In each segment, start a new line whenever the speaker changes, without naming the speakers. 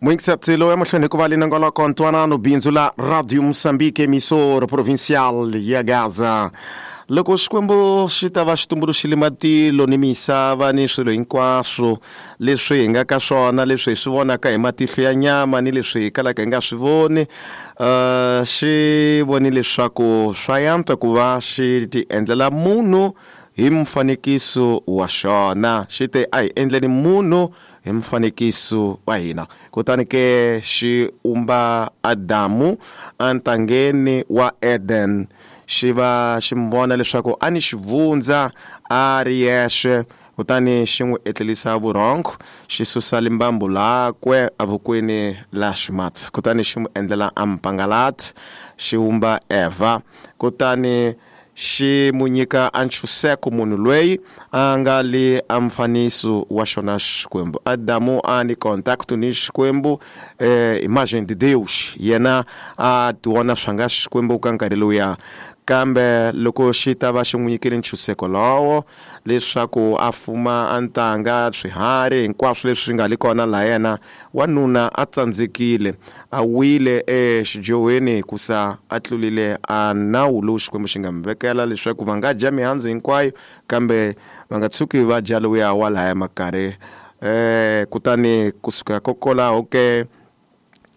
Muingisatsi lowu emahlweni hikuva linongoloko ntwanano bindzu la Radio Moçambique, emissora provincial ya Gaza. Loko Xikwembu xi ta va xi tumbuluxile matilo ni misava ni swilo hinkwaswo leswi hi nga ka swona, leswi hi swi vonaka hi matihlo ya nyama ni leswi hi kalaka hi nga swi voni, xi voni leswaku swa yantswa ku va xi ti endlela munhu hi mfanekiso wa xona. Xi te, a hi endleni munhu hi mfanekiso wa hina. Kutani ke xi umba Adamu entangeni wa Eden, xi va xi mi vona leswaku a ni xivundza a ri yexe, kutani xi n'wi etlerisa vurhongo, xi susa limbambu lakwe evokweni la ximatsi, kutani xi n'wi endlela a mpangalati, xi wumba Evha, kutani xi mu nyika a ntshunxeko munhu loyi a nga le a mfaniso wa xona Xikwembu. Adamu a ni contact ni Xikwembu, imagem de Deus, yena a tiwona swa nga Xikwembu ka nkarhi lowuya. Kambe loko xi ta va xi n'wi nyikile ntshunxeko lowo leswaku a fuma a ntanga, swiharhi hinkwaswo leswi nga le kona laha, yena wanuna a tsandzekile, a wile exidyohweni hikusa a tlulile a nawu lowu Xikwembu xi nga mi vekela leswaku va nga dya mihandzu hinkwayo, kambe va nga tshuki va dya lowuya wa lahaya makarhi. Kutani kusuka kokolaho ke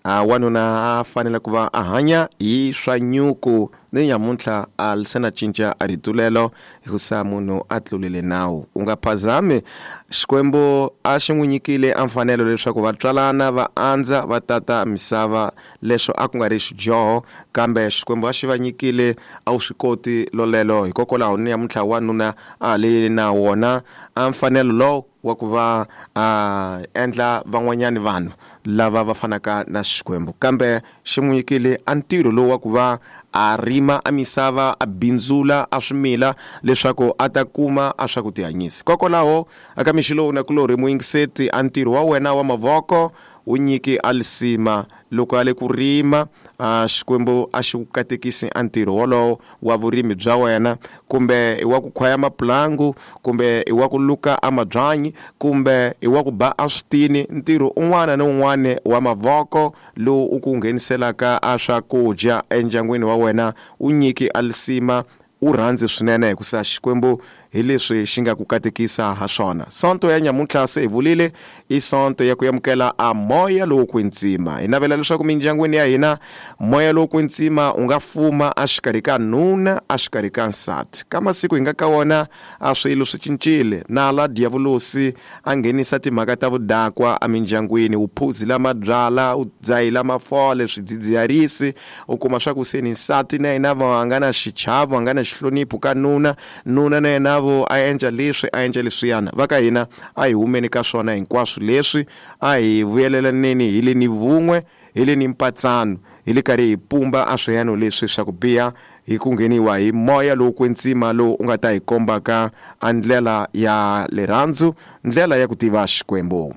a wanuna a fanele ku va a hanya hi swa nyuku, ni nyamuntlha a se na cinca a ritulelo hikusa munhu a tlulile nawu. U nga phazami, Xikwembu a xi n'wi nyikile a mfanelo leswaku va tswalana, va andza, va tata misava. Leswo a ku nga ri xidyoho, kambe Xikwembu a xi va nyikile a wu swi koti lolelo. Hikokwalaho ni nyamuntlha wanuna a ha na wona a mfanelo lowu wa ku va a endla van'wanyani vanhu lava va fanaka na Xikwembu, kambe xi n'wi nyikile a ntirho lowu wa ku va a rima a misava, a bindzula a swimila leswaku a ta kuma a swa ku tihanyisa. Kokwalaho aka mixo lowu na kulorhi muyingiseti, a ntirho wa wena wa mavoko wu nyiki a lisima. Loko a le ku rima, a Xikwembu a xi ku katekisi a ntirho wolowo wa vurimi bya wena, kumbe i wa ku khwaya mapulangu, kumbe i wa ku luka a mabyanyi, kumbe i wa ku ba a switini. Ntirho un'wana ni un'wana wa mavoko lowu u ku ngheniselaka a swakudya endyangwini wa wena u nyiki a lisima, u rhandzi swinene, hikusa Xikwembu hi leswi xi nga ku katekisa ha swona. Sonto ya nyamuntlha se hi vulile i sonto ya ku amukela a moya lowo kwetsima. Hi navela leswaku mindyangwini ya hina moya lowo kwetsima u nga fuma a xikarhi ka nuna, a xikarhi ka nsati. Ka masiku hi nga ka wona a swilo swi cincile, nala diyavulosi a nghenisa timhaka ta vudakwa emindyangwini, u phuzila mabyala, u dzahila mafole, swidzidziharisi. U kuma swa ku se ni nsati na yena va nga na xichavo, a nga na xihlonipho ka nuna, nuna na yena vo a endla leswi, a endla leswiyana. Va ka hina a hi humeni ka swona hinkwaswo leswi, a hi vuyelelaneni hi le ni vun'we, hi le ni mpatsano, hi le karhi hi pumba a swiyano leswi swa ku biha, hi ku ngheniwa hi moya lowu kwetsima lowu u nga ta hi kombaka a ndlela ya rirhandzu, ndlela ya ku tiva Xikwembu.